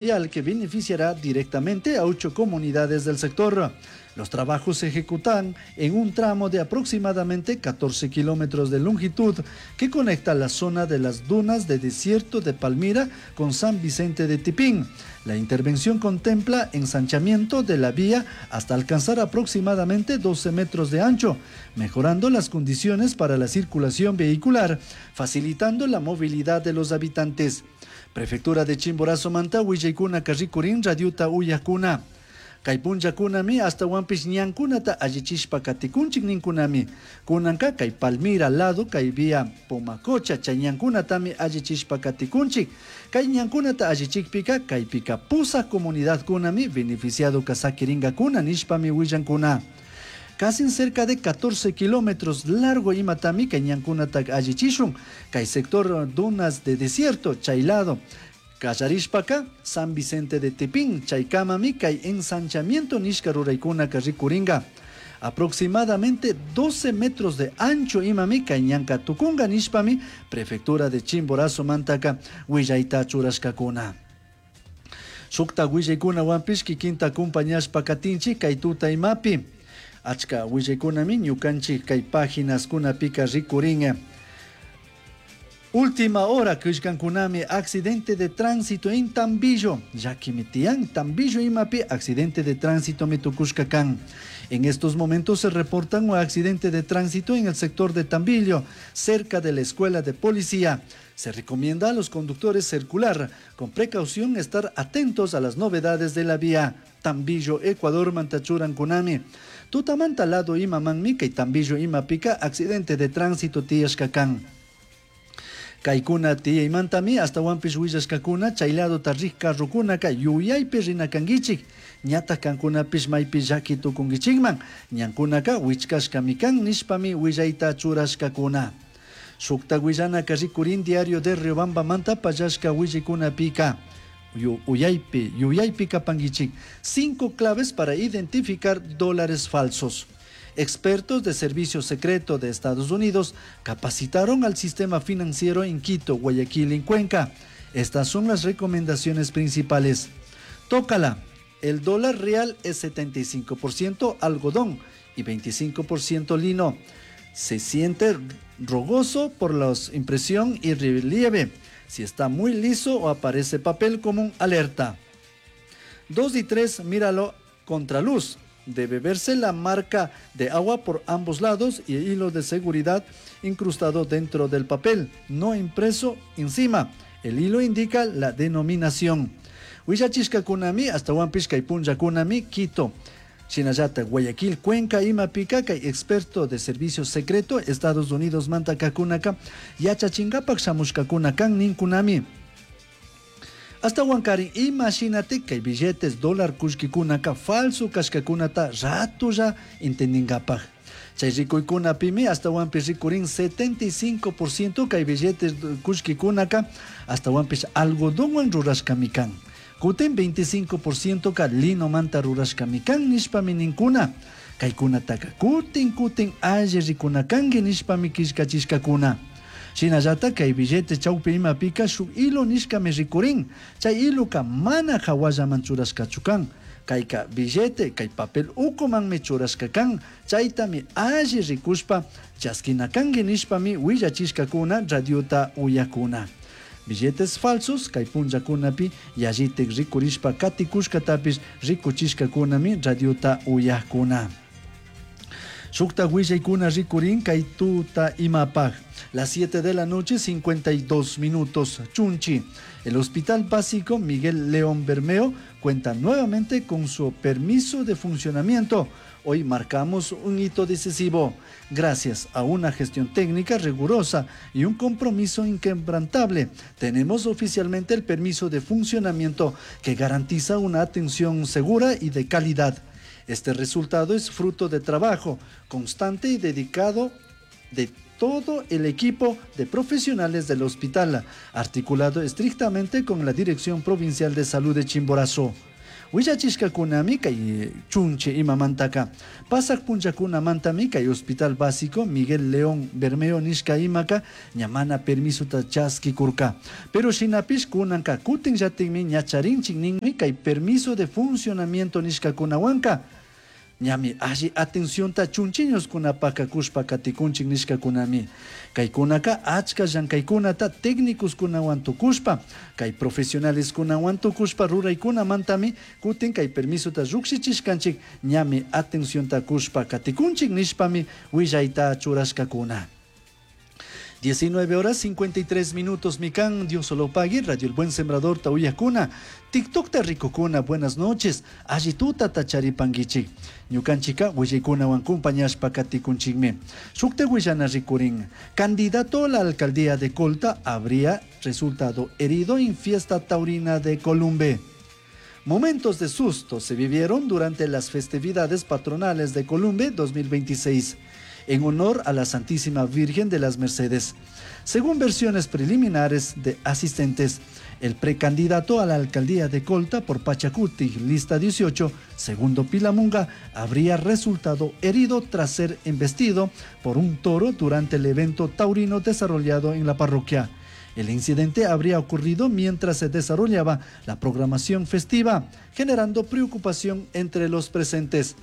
Vial que beneficiará directamente a 8 comunidades del sector. Los trabajos se ejecutan en un tramo de aproximadamente 14 kilómetros de longitud que conecta la zona de las dunas de desierto de Palmira con San Vicente de Tipín. La intervención contempla ensanchamiento de la vía hasta alcanzar aproximadamente 12 metros de ancho, mejorando las condiciones para la circulación vehicular, facilitando la movilidad de los habitantes. Prefectura de Chimborazo manta willaykuna rikurin radiota uyakuna. Kay punllakunami ashtawanpish ñankunata allichishpa katikunchik ninkunami. Kunanka kay Palmira lado kay vía Pomacocha chay ñankunatami allichishpa katikunchik. Kay ñankunata allichikpika kaypika pusaq comunidadkunami beneficiado sakiringakuna nishpami willankuna. Casi cerca de 14 kilómetros largo imatami kay ñankunata allichishun. Kay sector dunas de desierto chay lado. Kallarishpaka San Vicente de Tipín chaykamami kay ensanchamiento nishka ruraykunaka rikuringa. Aproximadamente 12 metros de ancho imami kay ñanka tukunga nishpami prefectura de Chimborazo mantaka willayta churashkakuna. Shukta willaykunawanpish kikinta acompañashpa katinchik kay tuta imapi. Achka willaykunami ñukanchik kay páginas kunapika rikurin. Última hora killkankunami accidente de tránsito en Tambillo. Llakimi tiyan Tambillo imapi accidente de tránsito mitukushka kan. En estos momentos se reportan un accidente de tránsito en el sector de Tambillo, cerca de la escuela de policía. Se recomienda a los conductores circular con precaución, estar atentos a las novedades de la vía. Tambillo, Ecuador, mantachurankunami. Tutamanta lado imamanmi kay Tambillo imapika accidente de tránsito tiyashka kan. Kaykuna tiyaymantami ashtawanpish willashkakuna chay ladota rik carrokunaka yuyaypi rinakankichik. Ñatak kankunapish maypi llaki tukunkichikman. Ñankunaka wichkashkami kan nishpami willayta churashkakuna. Shukta willanaka rikurin diario de Riobambamanta pallashka willaykunapika. Uyaypi, yuyaypi kapankichik. 5 claves para identificar dólares falsos. Expertos de Servicio Secreto de Estados Unidos capacitaron al sistema financiero en Quito, Guayaquil y Cuenca. Estas son las recomendaciones principales. Tócala. El dólar real es 75% algodón y 25% lino. Se siente rugoso por la impresión y relieve. Si está muy liso o aparece papel como un alerta. 2 y 3, míralo contraluz. Debe verse la marca de agua por ambos lados y el hilo de seguridad incrustado dentro del papel, no impreso encima. El hilo indica la denominación. Willachishkakunami, ashtawanpish kay punllakunami, Quito. Shinallata, Guayaquil, Cuenca, imapika, kay experto de servicio secreto, Estados Unidos, manta kakunaka, yachachingapak shamushkakuna kan ninkunami. Ashtawankarin imagínate kay billetes dólar kullkikunaka falso kashkakunata ratolla entendingapaj. Chay rikuykunapimi ashtawanpish rikurin 75% kay billetes kullkikunaka ashtawanpish algodonwan rurashkami kan. Kutin 25% ka linomanta rurashkami kan nishpami ninkuna. Kaykunataka kutin kutin alli rikunakanki nishpami killkachishkakuna. Shinallata kay billete chawpi imapika shuk hilo nishkami rikurin. Chay hiloka mana hawallaman churashkachu kan. Kayka billete kay papel ukumanmi churashka kan. Chaytami alli rikushpa chaskinakanki nishpami willachishkakuna radiota uyakuna. Billetes falsos kay punllakunapi yallitik rikurishpa katikushkatapish rikuchishkakunami radiota uyakuna. Shukta willaykuna rikurin kay tuta imapaj. Las 7 de la noche, 52 minutos. Chunchi. El Hospital Básico Miguel León Bermeo cuenta nuevamente con su permiso de funcionamiento. Hoy marcamos un hito decisivo. Gracias a una gestión técnica rigurosa y un compromiso inquebrantable, tenemos oficialmente el permiso de funcionamiento que garantiza una atención segura y de calidad. Este resultado es fruto de trabajo constante y dedicado de todo el equipo de profesionales del hospital, articulado estrictamente con la Dirección Provincial de Salud de Chimborazo. Willachishkakunami kay chunchi imamantaka. Pasak punllakunamantami kay Hospital Básico Miguel León Bermeo nishka imaka ña mana permisota chaskikurka. Pero shinapish kunanka kutinllatikmi ña charinchik ninmi kay permiso de funcionamiento nishkakunawanka. Ñami alli atencionta chunchiñoskunapaka kushpa katikunchik nishkakunami. Kaykunaka achka llankaykunata técnicoskunawan tukushpa, kay profesionaleskunawan tukushpa ruraykunamantami kutin kay permisota llukshichishkanchik ñami atencionta kushpa katikunchik nishpami willayta churashkakuna. 19 horas 53 minutos, Mikan, Dios solo pague, Radio El Buen Sembrador, Tauyakuna, TikTok rikukuna, buenas noches, allituta tacharipanguichik, ñukanchika willaykunawan compañashpa katikunchikmi. Shukta willana rikurin, candidato a la alcaldía de Colta habría resultado herido en fiesta taurina de Columbe. Momentos de susto se vivieron durante las festividades patronales de Columbe 2026, en honor a la Santísima Virgen de las Mercedes. Según versiones preliminares de asistentes, el precandidato a la alcaldía de Colta por Pachacuti, lista 18, segundo Pilamunga, habría resultado herido tras ser embestido por un toro durante el evento taurino desarrollado en la parroquia. El incidente habría ocurrido mientras se desarrollaba la programación festiva, generando preocupación entre los presentes.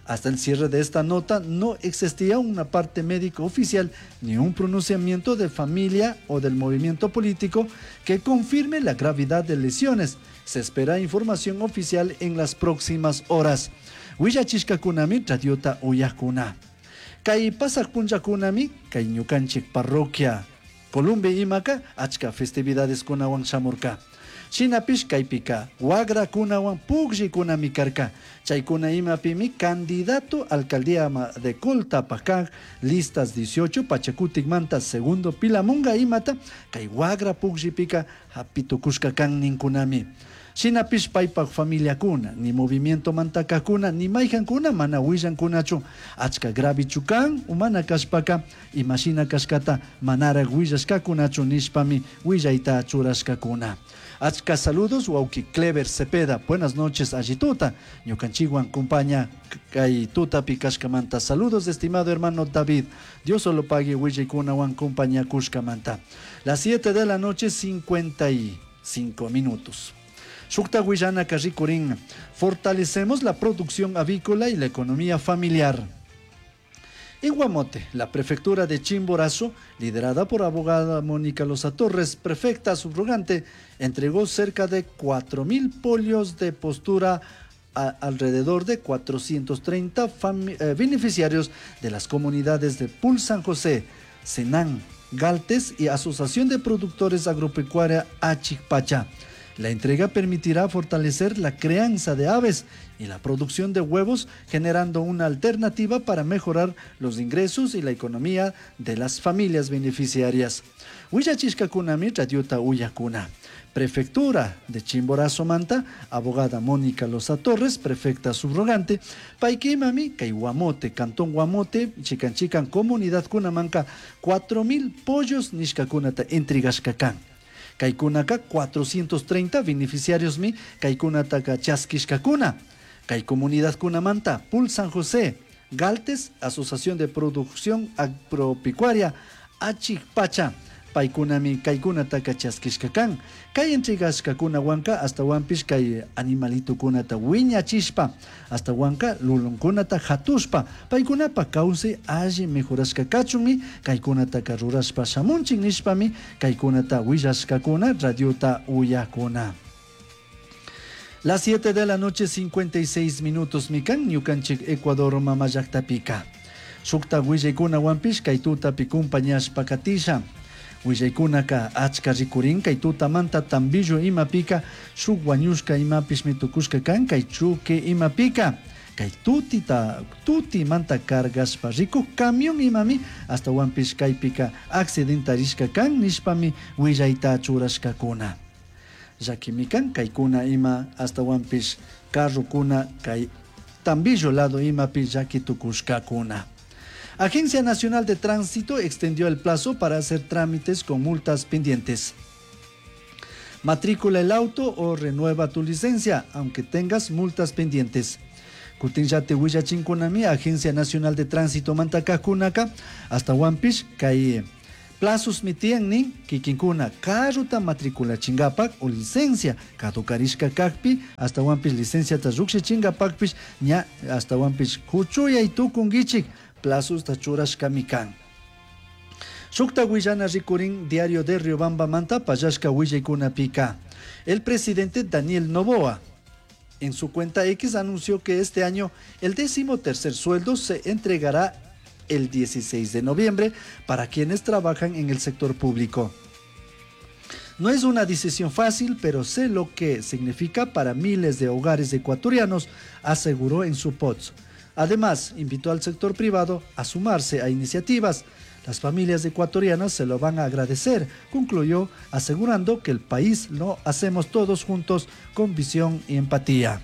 Hasta el cierre de esta nota no existía una parte médico oficial ni un pronunciamiento de familia o del movimiento político que confirme la gravedad de lesiones. Se espera información oficial en las próximas horas. Willachishkakunami radiota uyakuna. Kay pasaq punllakunami kay ñukanchik parroquia Columbe imaka achka festividades kunawan shamurka. Shinapish kaypika wagrakunawan pukllikunami karka. Chaykuna imapimi candidato alcaldía de Colta pakaj listas 18 Pachacuticmanta segundo Pilamunga imata kay wagra pukllipika hapitukushka kan ninkunami. Shinapish paypak familiakuna, ni movimiento mantakakuna, ni mayhankuna mana willankunachu. Achka gravichu kan, umana kashpaka, imashina kashkata manaraq willashkakunachu nishpami willayta churashkakuna. Achka saludos, wawki Clever Cepeda. Buenas noches, allituta. Ñukanchikwan compaña kay tutapi kashkamanta. Saludos, estimado hermano David. Dios solo pague willaykunawan compaña kushkamanta. Las 7 de la noche, 55 minutos. Shukta willana karrikurin. Fortalecemos la producción avícola y la economía familiar. En Guamote, la prefectura de Chimborazo, liderada por abogada Mónica Loza Torres, prefecta subrogante, entregó cerca de 4.000 pollos de postura a alrededor de 430 beneficiarios de las comunidades de Pul San José, Senán, Galtes y Asociación de Productores Agropecuaria Achicpacha. La entrega permitirá fortalecer la crianza de aves y la producción de huevos, generando una alternativa para mejorar los ingresos y la economía de las familias beneficiarias. Willachishkakunami radiota uyakuna. Prefectura de Chimborazo Manta, abogada Mónica Loza Torres, prefecta subrogante, Paiquimami, kay Guamote, Cantón Guamote, Chican Chican, Comunidad Cunamanca, 4.000 pollos nishkakunata entregashkakan. Kaykunaka 430 beneficiarios mi kaykunataka chaskishkakuna. Kay comunidad kunamanta, Pul San José, Galtes, Asociación de Producción Agropecuaria, Achicpacha, paykunami kaykunataka chaskishkakan. Kay entregashkakunawanka hasta wanpish kay animalitukunata wiñachishpa, hasta wanka lulunkunata hatushpa, paykunapa kawsay alli mejorashka kachunmi kaykunataka rurashpa shamunchik nishpami kaykunata willashkakuna radiota uyakuna. Las 7 de la noche 56 minutos mikan ñukanchik Ecuador mama llaqtapika. Shukta willaykuna wanpish kay tutapi kumpañashpa katisha. Willaykunaka achka rikurin kay tutamanta Tambillo imapika shuk wañushka imapishmi tukushka kan kay chuque imapika. Kay tutita tutimanta cargashpa rikuk camión imami hasta wanpish kaypika accidentarishka kan nishpami willayta churashkakuna. Llakimikan kaykuna ima hasta wanpish carrokuna kay Tambillo lado imapi llaki tukushkakuna. Agencia Nacional de Tránsito extendió el plazo para hacer trámites con multas pendientes. Matrícula el auto o renueva tu licencia, aunque tengas multas pendientes. Kutinllati willachinkunami Agencia Nacional de Tránsito mantakajkunaka ashtawanpish kay plazosmi tiyan nin kikinkuna carrota matriculachinkapak o licencia caducarishka kakpi ashtawanpish licenciata llukshichinkapak ña ashtawanpish kuchuyay tukunkichik plazosta churashkami kan. Shukta willana rikurin Diario de Riobamba manta pallashka willaykunapika. El presidente Daniel Noboa en su cuenta X anunció que este año el 13.º sueldo se entregará el 16 de noviembre para quienes trabajan en el sector público. No es una decisión fácil, pero sé lo que significa para miles de hogares ecuatorianos, aseguró en su post. Además, invitó al sector privado a sumarse a iniciativas. Las familias ecuatorianas se lo van a agradecer, concluyó, asegurando que el país lo hacemos todos juntos con visión y empatía.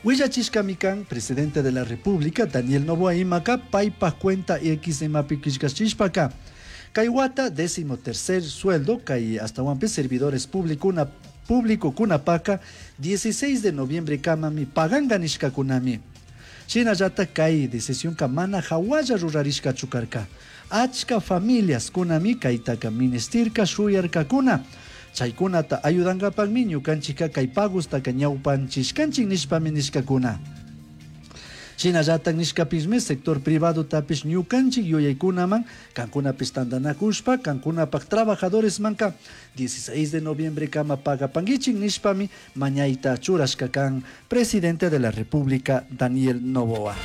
Willachishkami kan, presidente de la República, Daniel Noboa imaka, paypa cuenta X imapi killkashishpaka. Kay wata, 13.º sueldo, kay ashtawanpish servidores público público kunapaka, 16 de noviembre kamami paganga nishkakunami. Shinallata kay decisionka mana hawalla rurarishkachu karka. Achka familias kunami kaytaka ministirka shuyarkakuna. Chaykunata ayudankapakmi ñukanchikka kay pagostaka ñawpanchishkanchik nishpami nishkakuna. Shinallatak nishkapishmi sector privado tapish ñukanchik yuyaykunaman kankunapish tantanakushpa kankunapak trabajadores manka 16 de noviembre kama pagapankichik nishpami mañayta churashka kan presidente de la República Daniel Noboa.